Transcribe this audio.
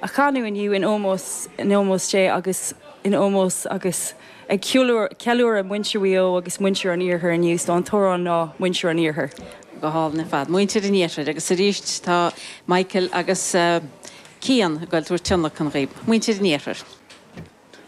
a chanadh inniu in ómós in ómós Dé agus in ómós agus ag ceiliúradh muintir Mhaigh Eo agus muintir an Iarthair inniu, so an t-amhrán ná Muintir an Iarthair. Go hálainn ar fad. Muintir an Iarthair agus arís tá Michael agus Cian ag goil tabhairt tionlacan dhaoib. Muintir an Iarthair.